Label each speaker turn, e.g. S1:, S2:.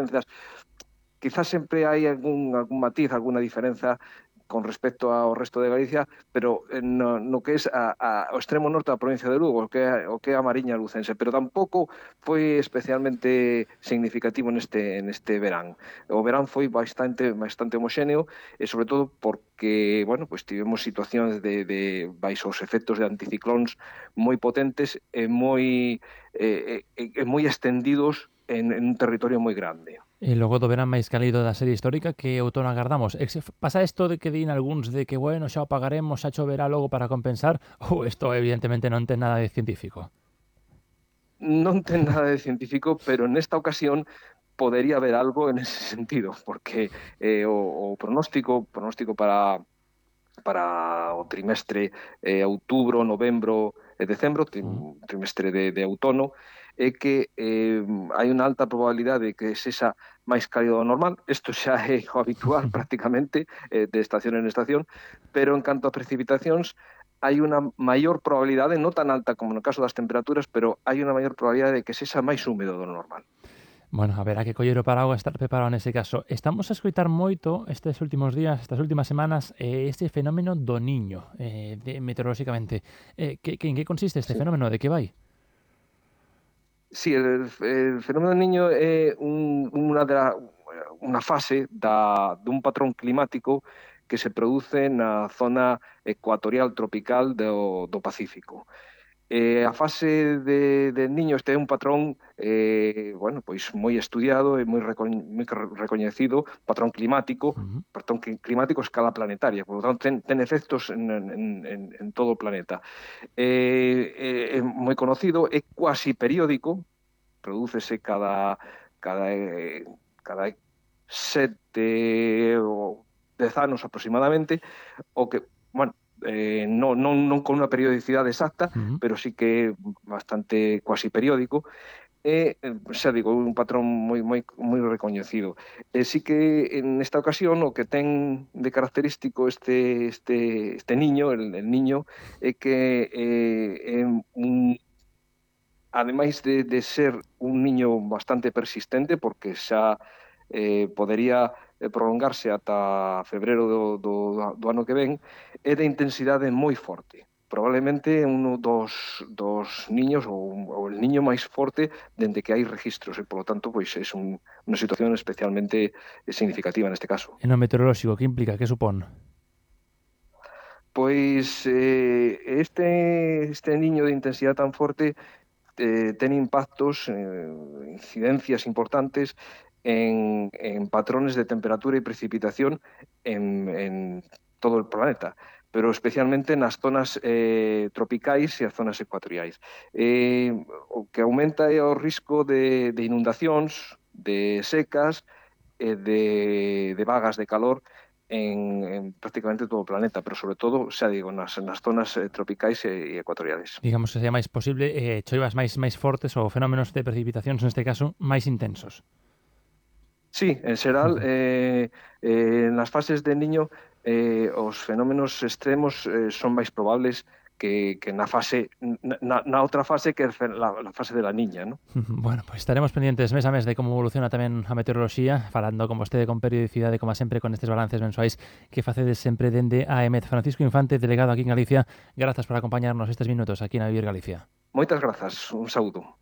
S1: diferenzas. Quizás sempre hai algún matiz, alguna diferenza con respecto ao resto de Galicia, pero no que é o extremo norte da provincia de Lugo, o que é a Mariña lucense, pero tampouco foi especialmente significativo neste verán. O verán foi bastante homoxéneo, e sobre todo porque, bueno, pues tivemos situacións baixo os efectos de anticiclóns moi potentes e moi extendidos en un territorio moi grande.
S2: E logo do verán máis cálido da serie histórica, que outono agardamos? Pasa isto de que din algúns de que, bueno, xa o pagaremos, xa choverá logo para compensar, ou isto evidentemente non ten nada de científico?
S1: Non ten nada de científico, pero nesta ocasión podería haber algo en ese sentido, porque o pronóstico para o trimestre outubro, novembro e decembro, trimestre de outono, é que hai unha alta probabilidade de que sexa máis cálido do normal. Isto xa é o habitual prácticamente de estación en estación, pero en canto a precipitacións hai unha maior probabilidade, non tan alta como no caso das temperaturas, pero hai unha maior probabilidade de que sexa máis húmedo do normal.
S2: Bueno, haberá que coller o paraguas, estar preparado nese caso. Estamos a escoitar moito estes últimos días, estas últimas semanas, este fenómeno do Niño, meteorolóxicamente. En que consiste este fenómeno? De que vai?
S1: Sí, el fenómeno del Niño é unha fase dun patrón climático que se produce na zona ecuatorial tropical do Pacífico. A fase del Niño, este é un patrón bueno, pois moi estudiado e moi recoñecido, patrón climático a escala planetaria, por lo tanto ten efectos en todo o planeta. É moi conocido, é cuasi periódico, prodúcese cada 7 ou 10 anos aproximadamente, o que, bueno, non con unha periodicidade exacta, pero sí que bastante cuasi periódico, e, xa digo, un patrón moi recoñecido. Sí que en esta ocasión o que ten de característico este niño, el niño, é que ademais de ser un niño bastante persistente, porque xa podería prolongarse ata febreiro do ano que ven, é de intensidade moi forte. Probablemente un dos niños ou el niño máis forte dende que hai registros, e, polo tanto, pois é unha situación especialmente significativa neste caso.
S2: E no meteorolóxico, que implica, que supón?
S1: Pois este niño de intensidade tan forte ten impactos, incidencias importantes en patrones de temperatura e precipitación en todo o planeta, pero especialmente nas zonas tropicais e as zonas ecuatoriais. O que aumenta é o risco de inundacións, de secas e de vagas de calor en prácticamente todo o planeta, pero sobre todo, xa digo, nas zonas tropicais e ecuatoriales.
S2: Digamos que sea máis posible choivas máis fortes ou fenómenos de precipitacións, neste caso, máis intensos.
S1: Sí, en xeral, nas fases de Niño os fenómenos extremos son máis probables que na outra fase que a fase de la Niña, ¿no?
S2: Bueno, pues estaremos pendientes mes a mes de como evoluciona tamén a meteoroloxía, falando con vostede con periodicidade, como sempre, con estes balances mensuais que facedes sempre dende a EMET. Francisco Infante, delegado aquí en Galicia, grazas por acompañarnos estes minutos aquí na Vivir Galicia.
S1: Moitas grazas, un saúdo.